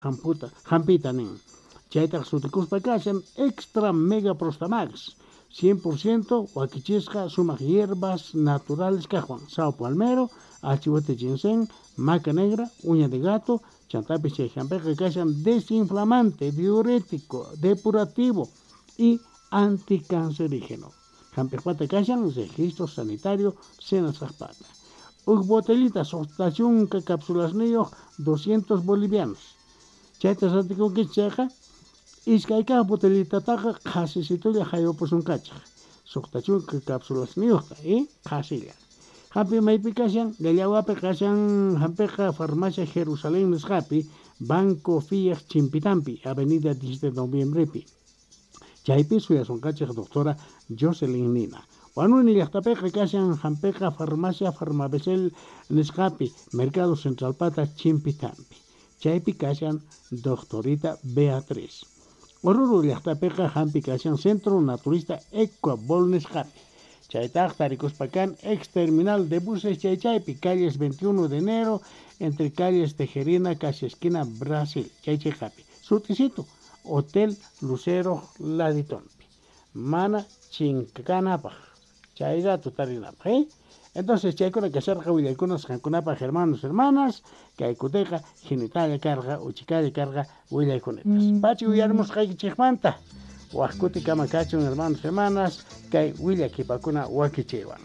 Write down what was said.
Jamputa, jampita nin. Chaytaj sutikuspa kashan Extra Mega Prostamax. 100% wakichisqa sumaq hierbas naturales kajwan. Sao palmero, achihuete ginseng, maca negra, uña de gato, chantapis chay jampiqa kashan desinflamante, diurético, depurativo y anticancerígeno. Jampiqpata kashan registro sanitario senasqajpata. Uj botellita suqta chunka capsulasniyuq 200 bolivianos. Chayta rantikunkichik chayqa iskay kaq botellitataqa qhasisitulla jaywapusunqachik. Suqta chunka capsulasniyuqta y qhasilla. Jampi maypi kashan, Llallawapi kashan jampiqa Farmacia Jerusalén nisqapi, Banco Fiat Chimpitampi, Avenida 10 de Noviembrepi. Chaypi suyasunqachik doctora Jocelyn Nina. Huanuni llaqtapiqa kashan jampiqa Farmacia Farmabesel nisqapi, Mercado Centralpata Chimpitampi. Chaypi kashan doctorita Beatriz. Oruro llaqtapiqa jampi kashan Centro Naturista Ecuabol nisqapi. Chaytaq tarikuspa kan ex terminal de buses chaychaypi, calles 21 de enero, entre calles Tejerina, casi esquina Brasil, chaychayqapi. Sutisito, Hotel Lucero Laditonpi. Mana chinkanapaj, chay rato tarinapaj, ¿eh? Entonces chaykuna kasharqa willaykunas qankunapaj hermanos, hermanas, kay kutiqa jinitalla karqa, uchikalla karqa willaykunetas. Pachi uyarimusqaykichikmanta. Waj kutikama kachun hermanos, hermanas, kay willakipakuna wakichiwan.